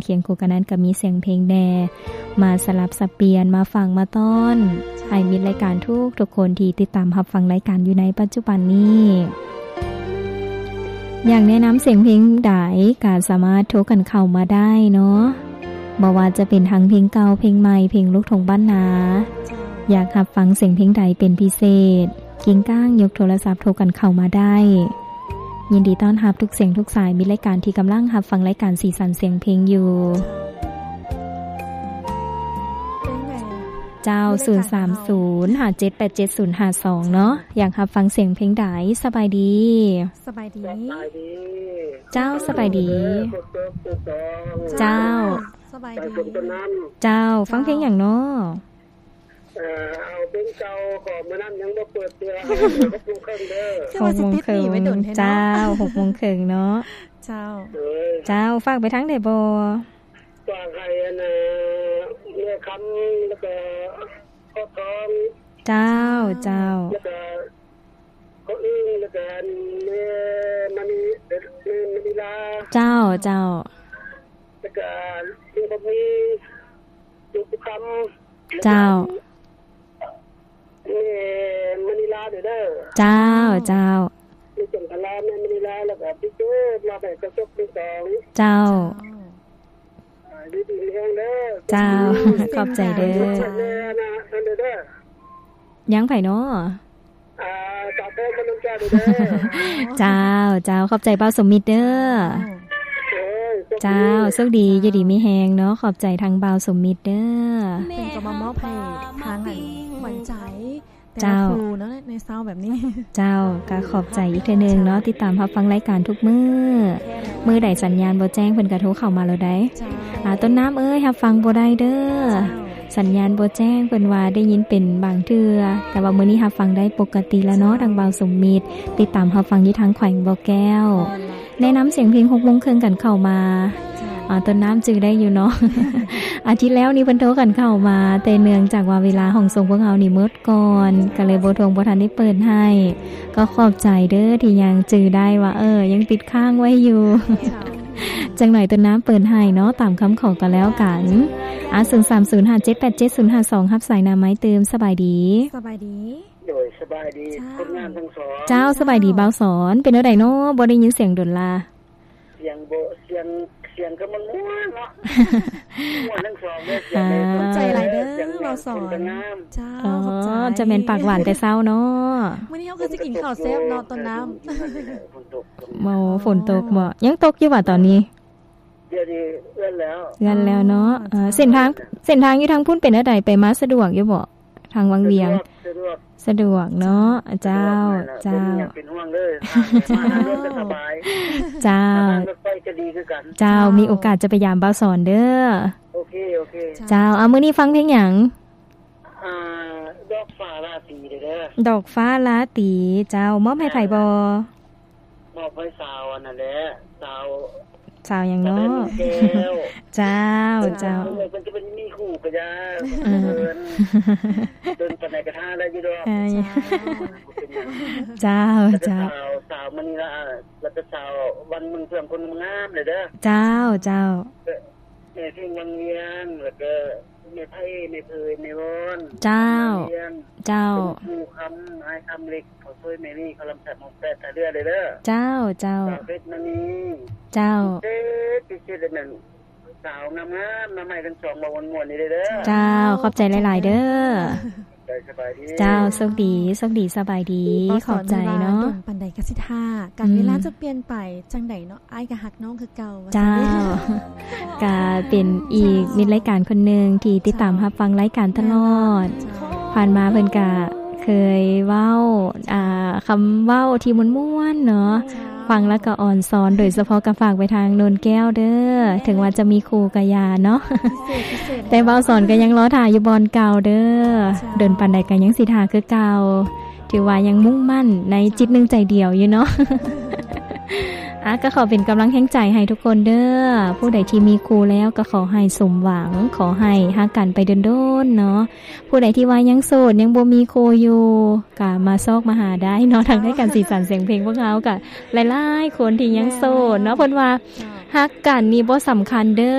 ຄຽງຄູ່ກັນນັ້ນກໍມີສຽງເພງແດ່ ມາສະຫຼັບສັບປ່ຽນ ມາຝາກມາຕ້ອນ ໃຫ້ມິດລາຍການທຸກໆຄົນທີ່ຕິດຕາມຮັບຟັງລາຍການຢູ່ໃນປັດຈຸບັນນີ້. ຢາກແນະນຳສຽງເພງໃດ ກໍສາມາດໂທກັນເຂົ້າມາໄດ້ເນາະ, ບໍ່ວ່າຈະເປັນທັງເພງເກົ່າ ເພງໃໝ່ ເພງລູກທົ່ງບ້ານນາ. ຢາກຮັບຟັງສຽງເພງໃດເປັນພິເສດ ກິງກ້າງຍົກໂທລະສັບໂທກັນເຂົ້າມາໄດ້. ຍິນດີຕ້ອນຮັບທຸກສຽງທຸກສາຍ. ມີລາຍການທີ່ກຳລັງຮັບຟັງລາຍການສີສັນສຽງເພງຢູ່. ເຈົ້າ ເພງໃດ? ເຈົ້າ ເພງໃດ? ສູນສາມສູນ ຫ້າເຈັດແປດເຈັດສູນຫ້າສອງເນາະ. ຢາກຮັບຟັງສຽງເພງໃດ? ສະບາຍດີ ສະບາຍດີ ສະບາຍດີ. ເຈົ້າ ສະບາຍດີ ເຈົ້າ ສະບາຍດີ. ເຈົ້າ ເຈົ້າ ຟັງເພງຫຍັງເນາະ? ເອີ ເອົາເພງເກົ່າ ຂອງມື້ນັ້ນຍັງບໍ່ເປີດເທື່ອ ຫົກໂມງເຄິ່ງເດີ. ຄືວ່າຊິຕິດໜີໄວ້ດົນແທ້ເນາະ. ຫົກໂມງເຄິ່ງເນາະ. ເຈົ້າ ເຈົ້າ ຝາກໄປທາງໃດບໍ່? ຝາກໃຫ້ອັນ ແມ່ຄຳ ແລ້ວກໍ ຄອບທອງ. ເຈົ້າ ເຈົ້າ ແລ້ວກໍ ພໍ່ອຶ້ງ ແລ້ວກໍ ແມ່ມະນີ ແມ່ມະນີລາ. ເຈົ້າ ເຈົ້າ ແລ້ວກໍ ລຸງຄຳມີ ລຸງຄຳ. ເຈົ້າ ແມ່ມະນີລາເດີ. ເຈົ້າ ເຈົ້າ ແມ່ຈັນທະລາ ແມ່ມະນີລາ ແລ້ວກໍ ພີ່ເກີດ ມາແບກກະສົບທັງສອງ. ເຈົ້າ ເຈົ້າ ຢູ່ດີມີແຮງເດີ. ເຈົ້າ ຂອບໃຈເດີ. ຍັງໃຜເນາະ? ອ່າ ສາວແພງ ບ້ານໂນນແກ້ວເດີ. ເຈົ້າ ເຈົ້າ ຂອບໃຈບ່າວສົມມິດເດີ. ເຈົ້າ ໂຊກດີ ຢູ່ດີມີແຮງເນາະ. ຂອບໃຈທາງບ່າວສົມມິດເດີ. ເພິ່ນກໍມາມອບໃຫ້ທາງອັນຂວັນໃຈ ເຈົ້າ ແຕ່ລະຄູ່ເນາະ ໃນເຊົ້າແບບນີ້. ເຈົ້າ ກໍຂອບໃຈອີກເທື່ອໜຶ່ງເນາະ ຕິດຕາມຮັບຟັງລາຍການທຸກມື້. ມື້ໃດສັນຍານບໍ່ແຈ້ງ ເພິ່ນກໍໂທເຂົ້າມາໂລດໄດ໋. ເຈົ້າ ອ່າ ຕົ້ນນ້ຳເອີຍ ຮັບຟັງບໍ່ໄດ້ເດີ. ເຈົ້າ ສັນຍານບໍ່ແຈ້ງ ເພິ່ນວ່າໄດ້ຍິນເປັນບາງເທື່ອ, ແຕ່ວ່າມື້ນີ້ຮັບຟັງໄດ້ປົກກະຕິແລ້ວເນາະ. ເຈົ້າ ທາງບ່າວສົມມິດ ຕິດຕາມຮັບຟັງຢູ່ທາງແຂວງບໍ່ແກ້ວ. ແນະນຳສຽງເພງຫົກໂມງເຄິ່ງກັນເຂົ້າມາ. ເຈົ້າ ອ່າ ຕົ້ນນ້ຳຈື່ໄດ້ຢູ່ເນາະ. ອາທິດແລ້ວນີ້ເພິ່ນໂທກັນເຂົ້າມາ, ແຕ່ເນື່ອງຈາກວ່າເວລາຫ້ອງສົ່ງພວກເຮົານີ້ໝົດ ກ່ອນ ກໍເລີຍບໍ່ທວງ ບໍ່ທັນໄດ້ເປີດໃຫ້. ກໍຂອບໃຈເດີທີ່ຍັງຈື່ໄດ້ວ່າ ເອີ ຍັງຕິດຄ້າງໄວ້ຢູ່. ເຈົ້າ ຈັກໜ້ອຍຕົ້ນນ້ຳເປີດໃຫ້ເນາະ ຕາມຄຳຂໍກໍແລ້ວກັນ. ອາ ສູນສາມສູນ ຫ້າເຈັດແປດເຈັດສູນຫ້າສອງ ຮັບສາຍໜ້າໄມ້ຕື່ມ. ສະບາຍດີ. ສະບາຍດີ. ໂດຍ ສະບາຍດີ ເຈົ້າ ຄົນງາມທັງສອງ. ເຈົ້າ ສະບາຍດີບ່າວສອນ. ເປັນແນວໃດເນາະ ບໍ່ໄດ້ຍິນສຽງດົນລະ? ສຽງບໍ່ ສຽງ ສຽງກໍມ່ວນໆເນາະ. ມ່ວນທັງສອງເດີ. ຂອບໃຈຫຼາຍເດີບ່າວສອນ. ເຈົ້າ ຂອບໃຈ. ຈະແມ່ນປາກຫວານແຕ່ເຊົ້າເນາະ. ມື້ນີ້ເຮົາຄືຊິກິນເຂົ້າແຊບເນາະ ຕົ້ນນ້ຳ. ໂອ້ ຝົນຕົກບໍ່? ຍັງຕົກຢູ່ຫວາຕອນນີ້? ດຽວນີ້ເລື່ອນແລ້ວ ເລື່ອນແລ້ວເນາະ. ເອີ ເສັ້ນທາງ ເສັ້ນທາງຢູ່ທາງພຸ້ນເປັນແນວໃດ? ໄປມາສະດວກຢູ່ບໍ່? ທາງວັງວຽງ. ສະດວກ ສະດວກເນາະ. ເຈົ້າ ເຈົ້າ ເປັນຫ່ວງເດີ. ເຈົ້າ ເຈົ້າ ມີໂອກາດຈະໄປຢາມບ່າວສອນເດີ. ໂອເຄ ໂອເຄ. ເຈົ້າ ເອົາ ມື້ນີ້ຟັງເພງຫຍັງ? ອ່າ ດອກຟ້າລາຕີເດີ. ດອກຟ້າລາຕີ. ເຈົ້າ ມອບໃຫ້ໃຜບໍ່? ມອບໃຫ້ສາວອັນນັ້ນແຫຼະ ສາວ ສາວຫຍັງເນາະ? ສາວແດນແກ້ວ. ເຈົ້າ ເຈົ້າ ເພິ່ນຈະເປັນມີຄູ່ກໍຢ່າ. ເອີ ເພິ່ນ ເພິ່ນປານໃດກໍຖ້າໄດ້ຢູ່ດອກ. ເອີ ເຈົ້າ ເຈົ້າ ສາວ ສາວມະນີລາ ແລ້ວກໍສາວວັນເມືອງເພື່ອງ ຄົນງາມເດີ. ເຈົ້າ ເຈົ້າ ແມ່ເພງວັງວຽງ ແລ້ວກໍແມ່ໄພ ແມ່ເຜີຍ ແມ່ວອນ. ເຈົ້າ ເຈົ້າ ເປັນຄູ່ຄຳ ອ້າຍຄຳເລັກ ເຂົາຊ່ວຍແມ່ນີ້ ເຂົາລຳສັດ ຫົກແປດ ທ່າເຮືອເດີ. ເຈົ້າ ເຈົ້າ ສາວເພັດມະນີ. ເຈົ້າ ເອີ ພິເສດນັ້ນ ສາວງາມໆ ມາໃໝ່ທັງສອງ ເວົ້າມ່ວນໆນີ້ເດີ. ເຈົ້າ ຂອບໃຈຫຼາຍໆເດີ. ເຈົ້າ ໂຊກດີ ໂຊກດີ ສະບາຍດີ. ຂອບໃຈເນາະ. ດົນປານໃດກໍຊິຖ້າ ການເວລາຈະປ່ຽນໄປຈັ່ງໃດເນາະ ອ້າຍກໍຮັກນ້ອງຄືເກົ່າ. ເຈົ້າ ກະເປັນອີກມິດລາຍການຄົນໜຶ່ງທີ່ຕິດຕາມຮັບຟັງລາຍການຕະຫຼອດ. ຜ່ານມາເພິ່ນກະເຄີຍເວົ້າ ອ່າ ຄຳເວົ້າທີ່ມ່ວນໆເນາະ. ເຈົ້າ ຟັງແລ້ວກໍອ່ອນຊອນ ໂດຍສະເພາະກໍຝາກໄປທາງໂນນແກ້ວເດີ. ເຈົ້າ ເຖິງວ່າຈະມີຄູ່ກໍຢ່າເນາະ. ພິເສດ ພິເສດ ແຕ່ບ່າວສອນກໍຍັງລໍຖ້າຢູ່ບ່ອນເກົ່າເດີ. ເຈົ້າ ດົນປານໃດກໍຍັງຊິຖ້າຄືເກົ່າ. ຖືວ່າຍັງມຸ່ງໝັ້ນໃນຈິດໜຶ່ງໃຈດຽວຢູ່ເນາະ. ອ່າ ກໍຂໍເປັນກຳລັງແຮງໃຈໃຫ້ທຸກຄົນເດີ. ຜູ້ໃດທີ່ມີຄູ່ແລ້ວກໍຂໍໃຫ້ສົມຫວັງ, ຂໍໃຫ້ຮັກກັນໄປດົນໆເນາະ. ຜູ້ໃດທີ່ວ່າຍັງໂສດ ຍັງບໍ່ມີຄູ່ຢູ່ ກໍມາຊອກມາຫາໄດ້ເນາະ. ທາງລາຍການສີສັນສຽງເພງພວກເຮົາກໍຫຼາຍໆຄົນທີ່ຍັງໂສດເນາະ. ເພິ່ນວ່າ ເຈົ້າ ຮັກກັນນີ້ບໍ່ສຳຄັນເດີ.